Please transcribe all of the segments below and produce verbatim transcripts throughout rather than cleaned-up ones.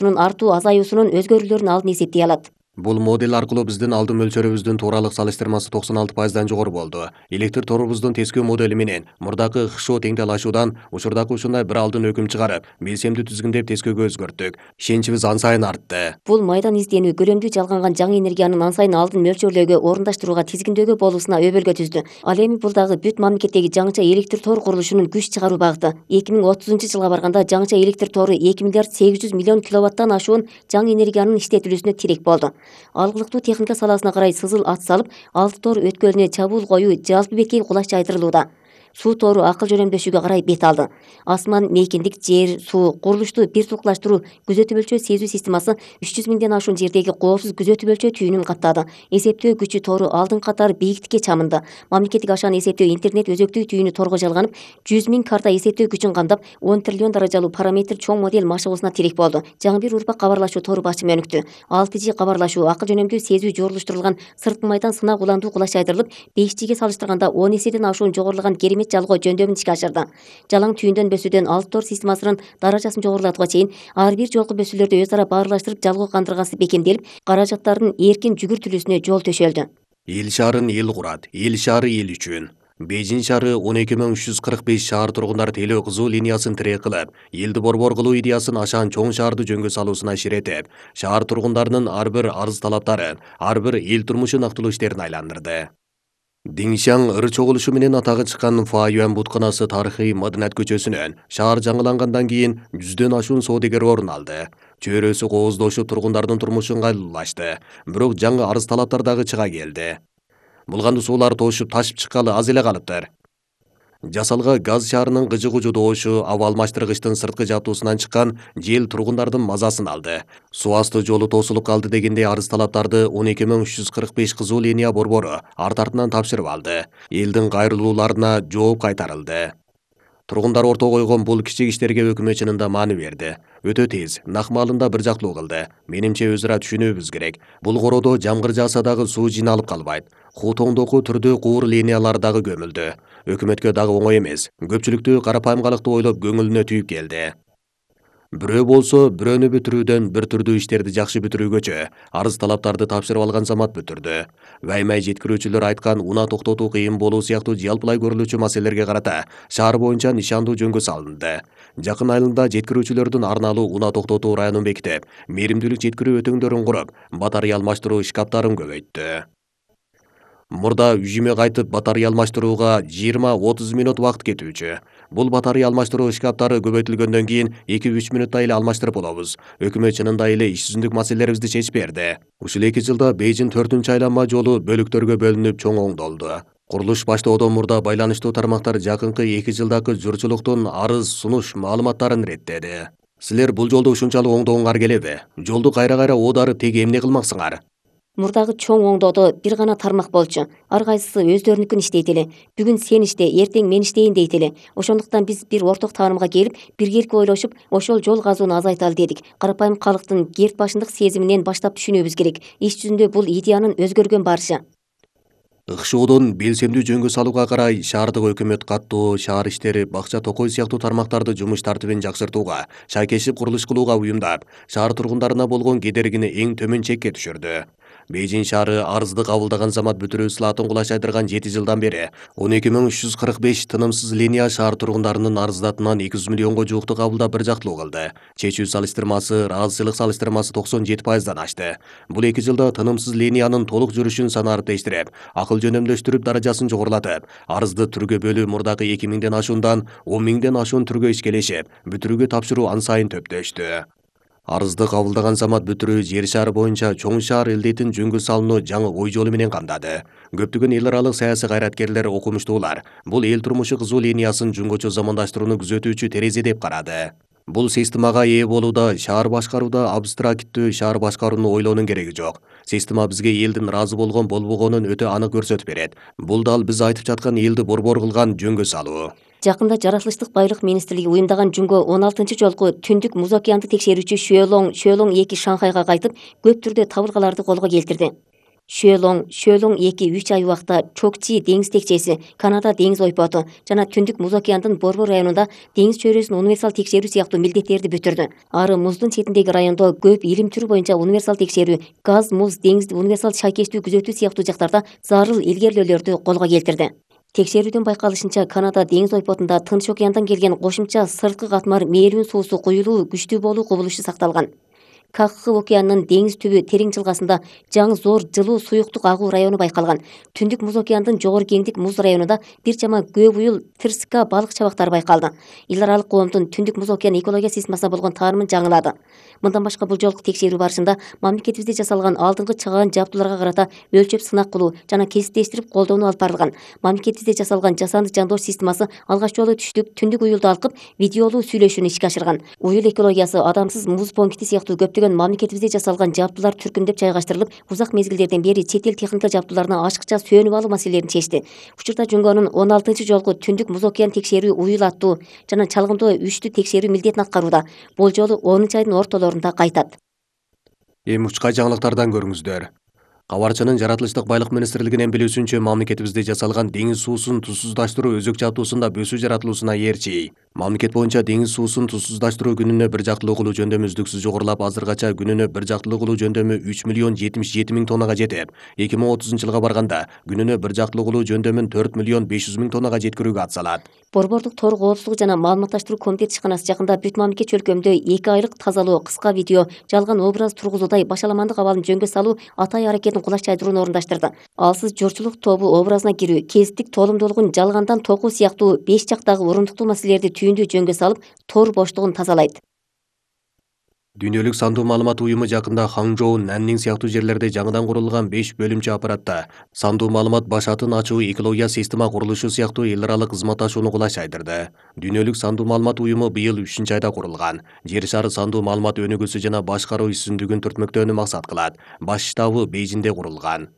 артуу азаюусунун өзгөрүүлөрүнүн алдын эсептей алат. Бул модель аркылуу биздин алдын мөлчөрүбүздүн тууралык салыштырмасы токсон алты пайыздан жогору болду. Электр торубуздун тескөө модели менен мурдакы ХШО теңдел-ашуудан учурдагы ушундай бир алдын өкүм чыгарып, белсемди түзгүндөп тескөөгө өзгөрттүк. Ишеничибиз ан сайын артты. Бул майдан изденүү көрөмдүү жалганган жаңы энергиянын ан сайын алдын мөлчөрлөөгө, орундаштырууга, тизгиндөөгө болуусуна өбөлгө түздү. Ал эми бул дагы бүт мамлекеттеги жаңыча электр тор курулушунун күч чыгаруу багыты. эки миң отузунчу жылга барганда жаңыча электр тору эки миллиард сегиз жүз миллион киловаттан ашуун жаңы энергиянын иштетилүүсүнө тирек болду. Алгылыктуу техника саласына карай сызыл ат салып, алты тор өткөлүнө чабуул коюу жалпы бетке кулаш жайдырылууда. Суу тору акыл жөнөмдөшүүгө карай бет алды. Асман, мейкиндик, жер, суу, курулушту бир тукташтыруу күзөтүп өлчөө сезүү системасы үч жүз миңден ашуун жердеги коопсуз күзөтүп өлчөө түйүнүн каттады. Эсептөө күчү тору алдын катары бийиктикке чамынды. Мамлекеттик ашааны эсептөө интернет өзөктүү түйүнү торго жалганып, жүз миң карта эсептөө күчүн камдап, он триллион даражалуу параметр чоң модель машыгуусуна тирек болду. Жаңы бир урпак кабарлашуу тору башым өнүктү. алты жи кабарлашуу, акыл жөнөмдүү сезүү жорулуштурулган сырткы майдан сынак уландуу кулаш жайдырылып, беш жиге салыштырганда он эседен ашуун жогорулаган керемет жалгоо жөндөмүн ишке ашырды. Жалаң түйүндөн бөсүүдөн алты тор системасынын даражасын жогорулатууга чейин ар бир жолку бөсүүлөрдү өз ара баарлаштырып жалгоо кандыргасы бекемделип, каражаттардын эркин жүгүртүлүүсүнө жол төшөлдү. Эл шаарын эл курат, эл шаары эл үчүн. Бейжин шаары он эки миң үч жүз кырк беш шаар тургундар телөө кызуу линиясын тирек кылып, элди борбор кылуу идеясын ашаан чоң шаарды жөнгө салуусуна ширетип, шаар тургундарынын ар бир арыз талаптарын, ар бир эл турмушу нактылуу иштерин айландырды. Диңшаң ыр чогулушу менен атагы чыккан Фаюан бутканасы тарыхый Маданат көчөсүнөн шаар жаңылангандан кийин жүздөн ашуун соодагер орун алды. Чөйрөсү кооздошуп тургундардын турмушу ыңгайлуулашты. Бирок жаңы арыз талаптар дагы чыга келди. Булганды суулар тошуп ташып чыккалы аз эле калыптыр. Жасалга газ шаарынын гыжы-гужу доошу, аба алмаштыргычтын сырткы жаптуусунан чыккан жел тургундардын мазасын алды. Суу асты жолу тосулуп калды дегендей арыз талаптарды он эки миң үч жүз кырк беш кызыл линия борбору арт-артынан тапшырып алды. Элдин кайрылууларына жооп кайтарылды. Тургундар орто койгон бул кичик иштерге өкмөт чынында маани берди. Өтө тез, нак маалында бир жактуу кылды. Менимче өзара түшүнүүбүз керек. Бул кородо жамгыр жааса дагы суу жиналып калбайт. Хутоңдоку түрдүү куур линиялар дагы көмүлдү. Өкмөткө дагы оңой эмес. Көпчүлүктү карапайымгалыкты ойлоп көңүлүнө түйүп келди. Бирөө болсо бирөөнү бүтүрүүдөн бир түрдүү иштерди жакшы бүтүрүүгөчө арыз талаптарды тапшырып алган замат бүтүрдү. Ваймай жеткирүүчүлөр айткан унаа токтотуу кыйын болуу сыяктуу жалпылай көрүлүүчү маселелерге карата шаар боюнча нишандуу жөнгө салынды. Жакын айылында жеткирүүчүлөрдүн арналуу унаа токтотуу районун бекитип, мээримдүүлүк жеткирүү өтөңдөрүн куруп, батарея алмаштыруу шкаптарын көбөйттү. Мурда үйүмө кайтып батарея алмаштырууга жыйырма отуз мүнөт убакыт кетүүчү. Бул батарея алмаштыруу шкаптары көбөйтүлгөндөн кийин эки үч мүнөттө эле алмаштырып болобуз. Өкмөт чынында эле иш жүзүндүк маселелерибизди чечип берди. Ушул эки жылда Бейжин төртүнчү айланма жолу бөлүктөргө бөлүнүп чоң оңдолду. Курулуш баштоодон мурда байланыштуу тармактар жакынкы эки жылдагы журчулуктун арыз сунуш маалыматтарын реттеди. Силер бул жолду ушунчалык оңдогуңар келеби? Жолду кайра-кайра оодарып теги эмне кылмаксыңар? Мурдагы чоң оңдоодо бир гана тармак болчу. Ар кайсысы өздөрүнүкүн иштейт эле. Бүгүн сен иште, эртең мен иштейин дейт эле. Ошондуктан биз бир орток таанымга келип, биргеликте ойлошуп, ошол жол казууну азайталы дедик. Карапайым калктын керт башындык сезиминен баштап түшүнүүбүз керек. Иш жүзүндө бул идеянын өзгөргөн барышы. ХШОдон белсемдүү жөнгө салууга карай шаардык өкмөт каттоо, шаар иштери, бакча токой сыяктуу тармактарды жумуш тартибин жакшыртууга, шайкешип курулуш кылууга уюмдап, шаар тургундарына болгон кедергини эң төмөн чекке түшүрдү. Бейжин шаары арызды кабылдаган замат бүтүрүү ысылатын кулаш жайдырган жети жылдан бери он эки миң үч жүз кырк беш тынымсыз линия шаар тургундарынын арыздатынан эки жүз миллионго жуукту кабылдап бир жактылуу кылды. Чечүү салыштырмасы, ыраазычылык салыштырмасы токсон жети пайыздан ашты. Бул эки жылда тынымсыз линиянын толук жүрүшүн санарип тештирип, акыл жөнөмдөштүрүп даражасын жогорулатып, арызды түргө бөлүү мурдагы эки миңден ашуундан он миңден ашуун түргө ишкелешип, бүтүрүүгө тапшыруу ан сайын төптөштү. Арызды кабылдаган замат бүтүрүү жер шары боюнча чоң шаар элдетин жөнгө салууну жаңы ой жолу менен камдады. Көптөгөн эл аралык саясий кайраткерлер, окумуштуулар бул эл турмушу кызуу линиясын жөнгөчө замандаштырууну күзөтүүчү терезе деп карады. Бул системага ээ болууда шаар башкарууда абстракттүү шаар башкарууну ойлоонун кереги жок. Система бизге элдин ыраазы болгон болбогонун өтө анык көрсөтүп берет. Бул дал биз айтып жаткан элди борбор кылган жөнгө салуу. Жакында Жаратылыштык байлык министрлиги уюмдаган жүнгө он алтынчы жолку түндүк муз океанды текшерүүчү Шөөлоң Шөөлоң эки Шанхайга кайтып, көп түрдө табылгаларды колго келтирди. Шөлоң, Шөлоң эки үч ай убакта Чокчи деңиз текчеси, Канада деңиз ойпоту жана Түндүк Муз океандын Борбор районунда деңиз чөйрөсүн универсал текшерүү сыяктуу милдеттерди бүтүрдү. Ары муздун четиндеги райондо көп илим түрү боюнча универсал текшерүү, газ, муз, деңизди универсал шайкештүү күзөтүү сыяктуу жактарда зарыл илгерилөөлөрдү колго келтирди. Текшерүүдөн байкалышынча, Канада деңиз ойпотунда Тынч океандан келген кошумча сырткы катмар мээрүүн суусу куюлуу күчтүү болуу кубулушу сакталган. Кахкы океанынын деңиз түбү терең жылгасында жаңы зор жылуу суюктук агуу району байкалган. Түндүк Муз океандын жогору кеңдик муз районунда бир чама көп уюл тырска балык чабактары байкалды. Эл аралык коомдун Түндүк Муз океан экология системасына болгон таанымын жаңылады. Мындан башка бул жолку текшерүү барышында мамлекетибизде жасалган алдыңкы чыгаан жабдууларга карата өлчөп сынак кылуу жана кесиптештирип колдонуу алып барылган. Мамлекетибизде жасалган жасанды жандоош системасы алгач жолу түштүк түндүк уюлду алкып видеолуу сүйлөшүүнү ишке ашырган. Уюл экологиясы адамсыз муз понкити сыяктуу көптөгөн мамлекетибизде жасалган жабдуулар түркүмдөп жайгаштырылып, узак мезгилдерден бери чет эл техника жабдууларына ашыкча сөнүп алуу маселелерин чечти. Учурда Жунгонун он алтынчы жолку Түндүк Муз океан текшерүү уюл аттуу жана чалгындоо үчтү текшерүү милдетин аткарууда. Бул жолу онунчу айдын ортолорунда кайтат. Эми учкай жаңылыктардан көрүңүздөр. Кабарчынын жаратылыштык байлык министрлигинен билүүсүнчө, мамлекетибизде жасалган деңиз суусун тузсуздаштыруу өзөк жабдуусунда бөсүү жаратылуусуна ээрчи. Мамлекет боюнча деңиз суусун тузсуздаштыруу күнүнө бир жактылуу кылуу жөндөмү үздүксүз жогорулап, азыркача күнүнө бир жактылуу кылуу жөндөмү үч миллион жетимиш жети миң тоннага жетип, эки миң отузунчу жылга барганда күнүнө бир жактылуу кылуу жөндөмүн төрт миллион беш жүз миң тоннага жеткирүүгө атсалат. Борбордук тор коопсуздугу жана маалыматташтыруу комитети ишканасы жакында бүт мамлекет чөлкөмдө эки айлык тазалоо, кыска видео, жалган образ тургузуудай башаламандык абалын жөнгө салуу атай аракетин кулаш жайдырууну орундаштырды. Алсыз жорчулук тобу образына кирүү, кесиптик толумдуулугун жалгандан токуу сыяктуу беш жактагы урундуктуу маселелерди түйүндүү жөнгө салып, тор боштугун тазалайт. Дүйнөлүк сандуу маалымат уюму жакында Ханчжоу, Наннин сыяктуу жерлерде жаңыдан курулган беш бөлүмчө аппаратта сандуу маалымат баш атын ачуу экология система курулушу сыяктуу эл аралык кызматташууну кулаш жайдырды. Дүйнөлүк сандуу маалымат уюму быйыл үчүнчү айда курулган. Жер шары сандуу маалымат өнүгүүсү жана башкаруу ишсүндүгүн түртмөктөөнү максат кылат. Баш штабы Бейжиңде курулган.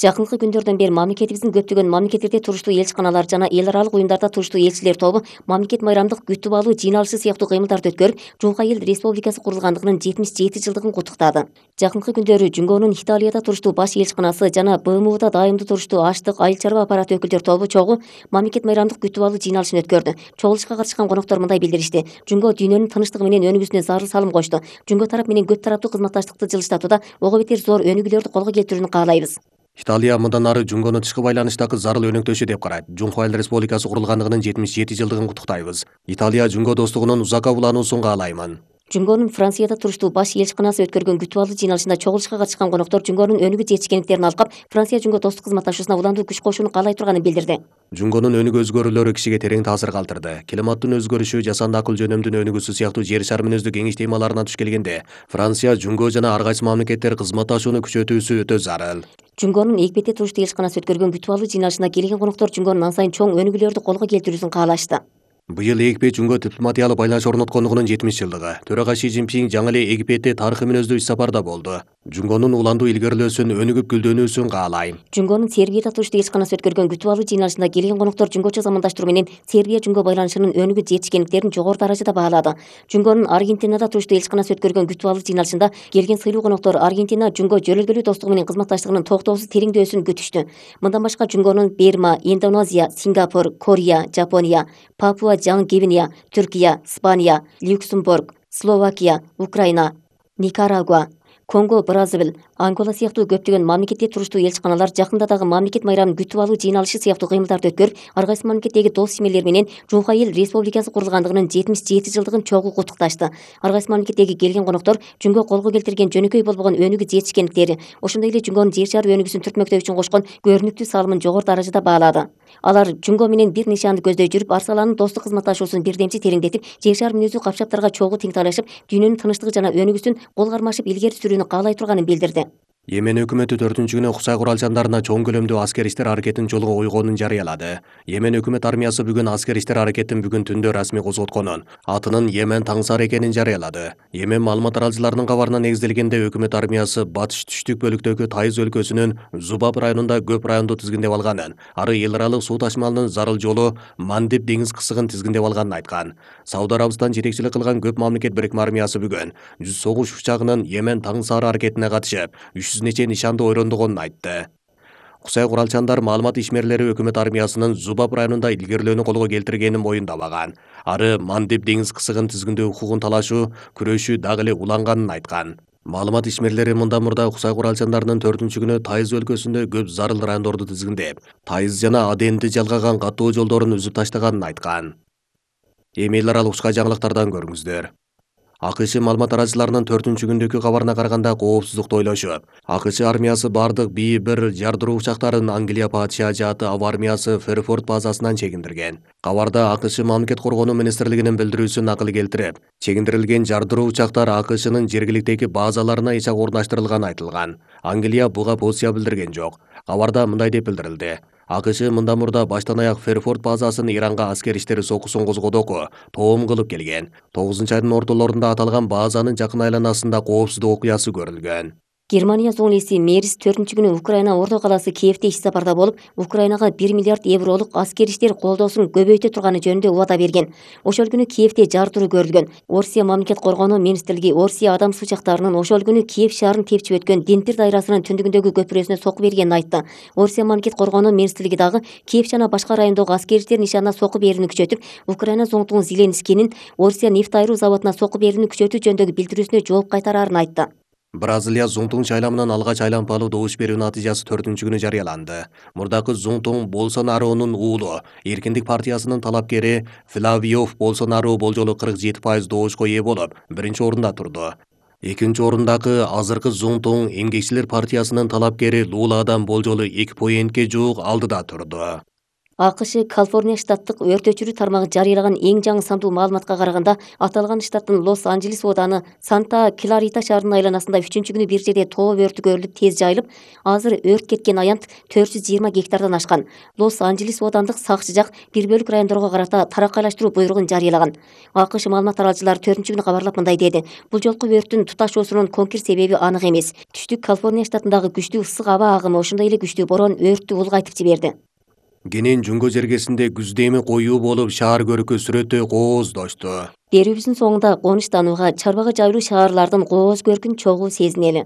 Жакынкы күндөрдөн бери мамлекетибиздин көптөгөн мамлекеттерде туруштуу элчиканалар жана эл аралык уюмдарда туруштуу элчилер тобу мамлекет майрамдык күтүп алуу жыйналышы сыяктуу кыймылдарды өткөрүп, Жуңка эл республикасы курулгандыгынын жетимиш жети жылдыгын куттуктады. Жакынкы күндөрү Жуңгонун Италияда туруштуу баш элчиканасы жана Б М У'да дайымдуу туруштуу аштык, айыл чарба аппараты өкүлдөр тобу чогуу мамлекет майрамдык күтүп алуу жыйналышын өткөрдү. Чогулушка катышкан коноктор мындай билдиришти: Жуңго дүйнөнүн тынычтыгы менен өнүгүүсүнө зарыл салым кошту. Жуңго тарап менен көп тараптуу кызматташтыкты жылыштатууда ого бетер зор өнүгүүлөрдү колго келтирүүнү каалайбыз. Италия мындан ары Жуңгону тышкы байланыштагы зарыл өнөктөшү деп карайт. Жуңка эл республикасы курулгандыгынын жетимиш жети жылдыгын куттуктайбыз. Италия Жуңго достугунун узакка улануусун каалаймын. Жуңгонун Францияда туруштуу баш элчиканасы өткөргөн күтүп алуу жыйналышында чогулушка катышкан коноктор Жуңгонун өнүгүү жетишкендиктерин алкап, Франция Жуңго достук кызматташуусуна уландуу күч кошууну каалай турганын билдирди. Жуңгонун өнүгүү өзгөрүүлөрү кишиге терең таасир калтырды. Климаттын өзгөрүшү, жасанды акыл жөнөмдүн өнүгүүсү сыяктуу жер шары мүнөздүү кеңеш темаларына туш келгенде, Франция, Жуңго жана ар кайсы мамлекеттер кызматташууну күчөтүүсү өтө зарыл. Жуңгонун Эгипетте туруштуу элчиканасы өткөргөн күтүп алуу жыйналышына келген коноктор Жуңгонун ан сайын чоң өнүгүүлөрдү колго келтирүүсүн каалашты. Быйыл Египет Жуңго дипломатиялык байланыш орноткондугунун жетимиш жылдыгы. Төрага Ши Цзиньпин жаңы эле Египетте тарыхый мүнөздүү иш сапарда болду. Жуңгонун уландуу илгерилөөсүн, өнүгүп гүлдөнүүсүн каалайм. Жуңгонун Сербияда туруштуу элчиканасы өткөргөн күтүп алуу жыйналышында келген коноктор жуңгочо замандаштыруу менен Сербия Жуңго байланышынын өнүгүп жетишкендиктерин жогору даражада баалады. Жуңгонун Аргентинада туруштуу элчиканасы өткөргөн күтүп алуу жыйналышында келген сыйлуу коноктор Аргентина Жуңго жөлөлгөлүү достугу менен кызматташтыгынын токтоосуз тереңдөөсүн күтүштү. Мындан башка Жуңгонун Берма, Индонезия, Сингапур, Корея, Жапония, Папуа Жаңы Гвинея, Түркия, Испания, Люксембург, Словакия, Украина, Никарагуа, Конго, Бразил, Ангола сыяктуу көптөгөн мамлекетте туруштуу элчиканалар жакында дагы мамлекет майрамын күтүп алуу жыйналышы сыяктуу кыймылдарды өткөрүп, ар кайсы мамлекеттеги дос симелер менен Жуңка эл республикасы курулгандыгынын жетимиш жети жылдыгын чогуу куттукташты. Ар кайсы мамлекеттеги келген коноктор Жуңго колго келтирген жөнөкөй болбогон өнүгүү жетишкендиктери, ошондой эле Жуңгонун жер шары өнүгүүсүн түртмөктөө үчүн кошкон көрүнүктүү салымын жогору даражада баалады. Алар Жуңго менен бир нишанды көздөй жүрүп, ар саланын достук кызматташуусун бирдемчи тереңдетип, жер шары мүнөздүү капчаптарга чогуу тең талашып, дүйнөнүн тынычтыгы жана өнүгүүсүн кол кармашып илгери сүрүүнү каалай турганын билдирди. Йемен өкмөтү төртүнчү күнү Кусай куралчандарына чоң көлөмдүү аскер иштер аракетин жолго койгонун жарыялады. Йемен өкмөт армиясы бүгүн аскер иштер аракетин бүгүн түндө расмий козготконун, атынын Йемен Таңсар экенин жарыялады. Йемен маалымат аралчыларынын кабарына негизделгенде өкмөт армиясы батыш түштүк бөлүктөгү Тайыз өлкөсүнүн Зубаб районунда көп районду тизгиндеп алганын, ары эл аралык суу ташымалынын зарыл жолу Мандеб деңиз кысыгын тизгиндеп алганын айткан. Сауд Арабистан жетекчилик кылган көп мамлекет бирикме армиясы бүгүн жүз согуш учагынын Йемен Таңсар аракетине катышып, үч жүз нече нишанды ойрондогонун айтты. Кусай куралчандар маалымат ишмерлери өкмөт армиясынын Зубаб районунда илгерилөөнү колго келтиргенин моюндабаган. Ары Мандеб деңиз кысыгын тизгиндөө укугун талашуу, күрөшүү дагы эле уланганын айткан. Маалымат ишмерлери мындан мурда Кусай куралчандарынын төртүнчү күнү Тайыз өлкөсүндө көп зарыл райондорду тизгиндеп, Тайыз жана Аденди жалгаган каттоо жолдорун үзүп таштаганын айткан. Эми эл аралык учка жаңылыктардан көрүңүздөр. АКШ маалымат аралчыларынын төртүнчү күндөгү кабарына караганда коопсуздукту ойлошуп, АКШ армиясы бардык Би бир жардыруу учактарын Англия падыша жааты аба армиясы Ферфорд базасынан чегиндирген. Кабарда АКШ мамлекет коргонуу министрлигинин билдирүүсүн накыл келтирип, чегиндирилген жардыруу учактар АКШнын жергиликтеги базаларына эч орнаштырылганы айтылган. Англия буга позиция билдирген жок. Кабарда мындай деп билдирилди: АКШ мындан мурда баштан аяк Ферфорд базасын Иранга аскер иштери сокусун козгодоку тоом кылып келген. тогузунчу айдын ортолорунда аталган базанын жакын айланасында коопсуздук окуясы көрүлгөн. Германия соң эси Мерис төртүнчү күнү Украина орто калаасы Киевде иш сапарда болуп, Украинага бир миллиард евролук аскер иштер колдоосун көбөйтө турганы жөнүндө убада берген. Ошол күнү Киевде жардыруу көрүлгөн. Орусия мамлекет коргонуу министрлиги Орусия адам сучактарынын ошол күнү Киев шаарын тепчип өткөн Днепр дайрасынын түндүгүндөгү көпүрөсүнө соку бергенин айтты. Орусия мамлекет коргонуу министрлиги дагы Киев жана башка райондогу аскер иштер нишанына соку берүүнү күчөтүп, Украина зоңтугу Зеленскийнин Орусия нефть айыруу заводуна соку берүүнү күчөтүү жөнүндөгү билдирүүсүнө жооп кайтарарын айтты. Бразилия Зуңтуң шайламынан алгач айланпалуу добуш берүү натыйжасы төртүнчү күнү жарыяланды. Мурдакы Зуңтуң Болсонаронун уулу, Эркиндик партиясынын талапкери Флавио Болсонару болжолу кырк жети пайыз добушка ээ болуп, биринчи орунда турду. Экинчи орундагы азыркы Зуңтуң Эмгекчилер партиясынын талапкери Луладан болжолу эки поинтке жуук алдыда турду. АКШ Калифорния штаттык өрт өчүрүү тармагы жарыялаган эң жаңы сандуу маалыматка караганда, аталган штаттын Лос-Анджелес ооданы Санта-Кларита шаарынын айланасында үчүнчү күнү бир жерде тоо өртү көрүлүп тез жайылып, азыр өрт кеткен аянт төрт жүз жыйырма гектардан ашкан. Лос-Анджелес оодандык сакчы жак бир бөлүк райондорго карата тараккайлаштыруу буйругун жарыялаган. АКШ маалымат аралчылары төртүнчү күнү кабарлап мындай деди: бул жолку өрттүн туташуусунун конкир себеби анык эмес. Түштүк Калифорния штатындагы күчтүү ысык аба агымы, ошондой эле күчтүү борон өрттү улгайтып жиберди. Кенен Жүнгө жергесинде күздө эми коюу болуп, шаар көркү сүрөтү кооздошту. Берүүбүздүн соңунда конуштанууга, чарбага жайылуу шаарлардын кооз көркүн чогуу сезинели.